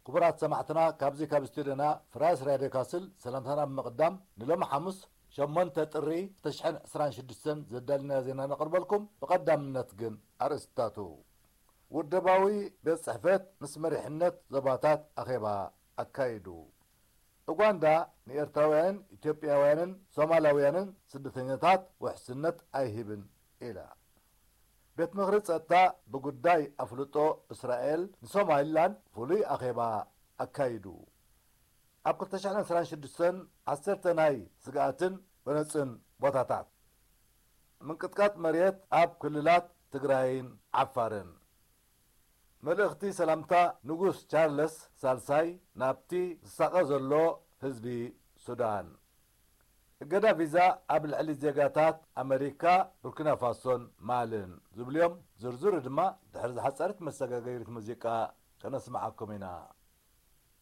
ክቡራት ሰማዕትና፣ ካብዚ ካብ ስቱድዮና ፍራስ ራድዮ ካስል ሰላምታና ብምቕዳም፣ ንሎሚ ሓሙስ ሸሞንተ ጥሪ ክልተ ሽሕን ዕስራን ሽዱሽተን ዘዳልናዮ ዜና ነቕርበልኩም። ብቐዳምነት ግን ኣርእስታቱ። ውደባዊ ቤት ጽሕፈት ምስ መሪሕነት ዞባታት ኣኼባ ኣካይዱ። ኡጋንዳ ንኤርትራውያንን ኢትዮጵያውያንን ሶማላውያንን ስደተኛታት ውሕስነት ኣይህብን ኢላ። ቤት ምኽሪ ጸጥታ ብጉዳይ ኣፍልጦ እስራኤል ንሶማሊላንድ ፍሉይ ኣኼባ ኣካይዱ። ኣብ ክልተ ሽሕን ዕስራን ሽዱሽተን ዓሰርተ ናይ ስግኣትን ጎነጽን ቦታታት። ምንቅጥቃጥ መሬት ኣብ ክልላት ትግራይን ዓፋርን። መልእኽቲ ሰላምታ ንጉስ ቻርለስ ሳልሳይ ናብቲ ዝሳቐ ዘሎ ህዝቢ ሱዳን። እገዳ ቪዛ ኣብ ልዕሊ ዜጋታት ኣመሪካ፣ ቡርኪና ፋሶን ማልን ዝብልዮም ዝርዝሩ ድማ ድሕሪ ዝሓጸረት መሰጋገሪት ሙዚቃ ከነስምዓኩም ኢና።